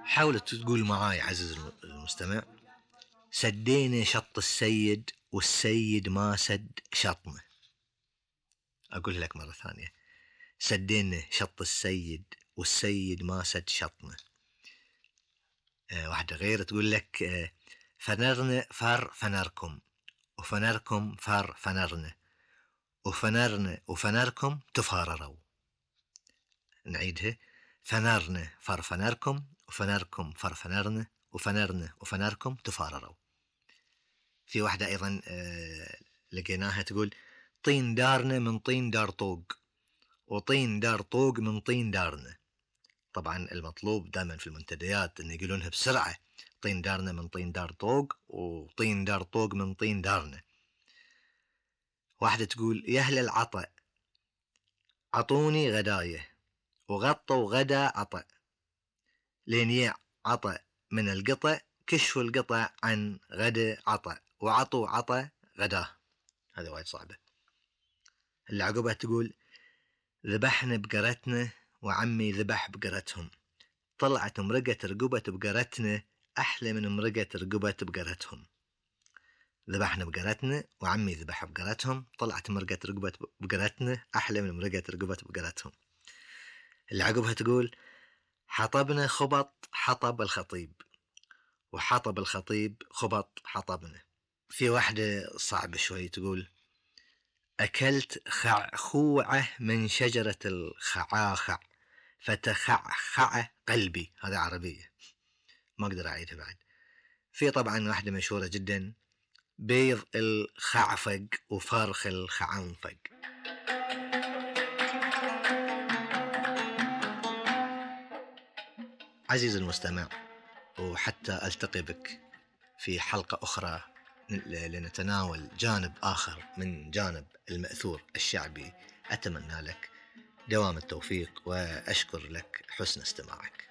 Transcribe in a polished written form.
حاول تقول معاي عزيز المستمع: سدينا شط السيد والسيد ما سد شطنا. أقول لك مرة ثانية: سدينا شط السيد والسيد ما سد شطنا. واحدة غير تقول لك: فنرنا فر فنركم، وفنركم فر فنرنا، وفنرنا وفنركم تفارروا. نعيدها: فنرنا فر فنركم، وفنركم فر فنرنا، وفنرنا وفنركم تفارروا. في واحدة أيضا لقيناها تقول: طين دارنا من طين دار طوق، وطين دار طوق من طين دارنا. طبعا المطلوب دائما في المنتديات أن يقولونها بسرعة: طين دارنا من طين دار طوق، وطين دار طوق من طين دارنا. واحدة تقول: يا أهل العطا عطوني غداية، وغطوا غدا عطا، لين يع عطا من القطع، كشفوا القطع عن غدا عطا، وعطوا عطا غداه. هذا وايد صعبة. اللي عقبها تقول: ذبحنا بقرتنا وعمي ذبح بقرتهم، طلعت مرقة رقبة بقرتنا أحلى من مرقة رقبة بقرتهم. ذبحنا بقرتنا وعمي ذبح بقرتهم، طلعت مرقة رقبة بقرتنا أحلى من مرقة رقبة بقرتهم. اللي عقبها تقول: حطبنا خبط حطب الخطيب، وحطب الخطيب خبط حطبنا. في واحدة صعبة شوي تقول: أكلت خعخوعة من شجرة الخعاخع فتخعخع قلبي. هذا عربية ما أقدر أعيدها بعد. في طبعا واحدة مشهورة جدا: بيض الخعفق وفرخ الخعنفق. عزيز المستمع، وحتى ألتقي بك في حلقة أخرى لنتناول جانب آخر من جانب المأثور الشعبي، أتمنى لك دوام التوفيق، وأشكر لك حسن استماعك.